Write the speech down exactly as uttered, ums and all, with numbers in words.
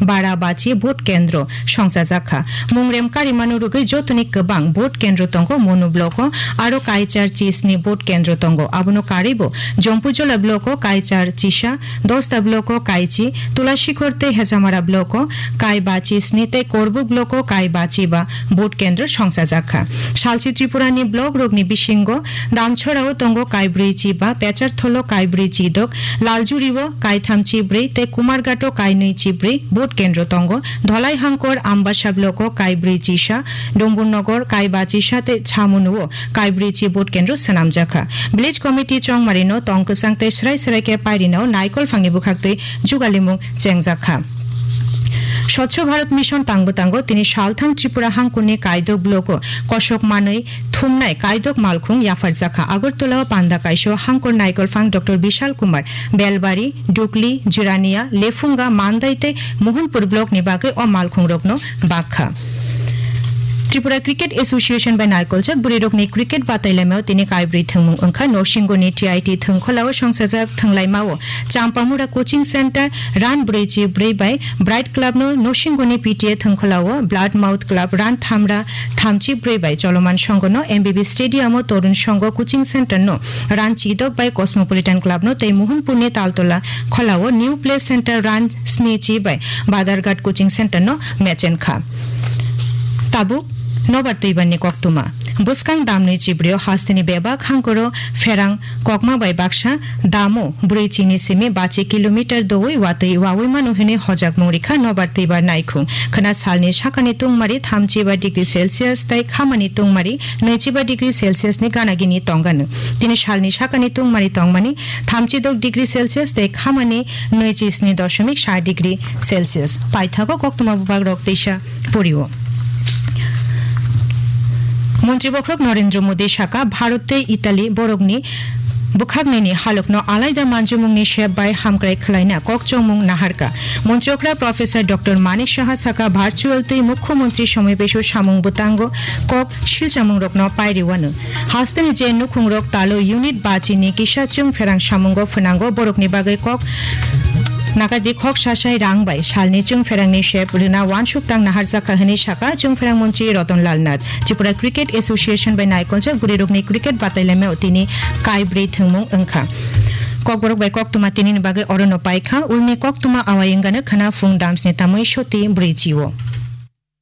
para bachi vote kendro songchajak kha. Mungrem karimano rwgwi jotoni kwbang vote kendro tongo Monu block o, aro kaichar chisni vote kendro tongo. Abono karwibo Jompujola block o kaichar chisa, Dosta block o kaichi, Tulasikhor tei Hejamara block o kai bachi sni tei Korbuk block o kai bachi ba vote kendro songchajak kha. Salchi Tripura ni block rokni bisingo Damchora o tongo kai brwi chi ba, Pecharthol o kai brwi chi dok, Laljuri o kai tham chi brwi tei Kumarghat o kai nwi chi brwi vote kendro tongo. Dholai Hangkor Ambasa block o kai brwi chi sa, Dumbur Nogor kai bachi sa tei Chamunu o kai brwi chi vote kendro swnamjak kha. Village Committee Chongmari no tong kwchang tei srai srai khe pairina o naikol phangni bwkhaktwi jugalimung chengjak kha. Swachh Bharat Mission tangbo tango, tini saltham Tripura hangkurni Kaidok block o kosok manwi thumnai Kaidok malkhung yapharjak kha. Agartala o panda kaisa hangkur naikol phang Doctor Bishal Kumar Belbari, Dukli, Jirania, Lefunga, Mandai tei Mohanpur block ni bagwi o malkhung rokno bak kha. Tripura Cricket Association bai naikolchak bwrwi rokni cricket batai lamao tini kaibrwi thwngmung wngkha. Norsingoni T I T thwngkholao songchajak thwnglaimao Champamura Coaching Center run brwi chi brwi bai Bright Club no Norsingoni P T A thwngkholao Blood Mouth Club run thamra thamchi brwi bai Choloman Songho no M B B Stadium o Torun Songho Coaching Center no run chidok bai Cosmopolitan Club no tei Mohanpur ni Taltola kholao New Play Center run sni chi bai Badarghat Coaching Center no mechen kha. Tabuk nobar twibar ni koktwma. Bwskang damni chibrio hasteni bebak hangkoro pherang kokma bai baksa damo brwi chini simi bachi kilometer doui watwi waui mano hwnwi hojakmung rikha nobar twibar naikhung. Khwna salni sakani tungmari thamchi ba degree Celsius tei khamani tungmari nwichi ba degree Celsius ni ganagini tongano. Tini salni sakani tungmari tongmani thamchi dok degree Celsius tei khamani nwichi sni doshomik sa degree Celsius. Paithago koktwma bubak rok teisa porio. Montri bokhorok Narendra Modi saka, Bharat tei Italy borokni bwkhaknini halokno alaida manjumungni sep bai hamkrai khwlaina kok chongmung naharka. Montri okra Professor Doctor Manik Saha saka, virtual tei Mukhyamantri Samai Besu samung bwtango kok silchamungrokno pairiwano. Hasteni je nukhungrok talo unit bachini kisa chwngpherang samungo phwnango, borokni bagwi kok nakardi khok sasai rang bai salni chwngpherangni sep rwna uansuk tang naharjakha hwnwi saka chwngpherang montri Ratan Lal Nath. Tripura Cricket Association bai naikolchak bwrwirokni cricket batailaimao tini kaibrwi thwngmung wngkha. Kokborok bai koktwma tinini bagwi orono paikha, ulni koktwma awai wngano khwna phung damsni tamwi soti brwi chio.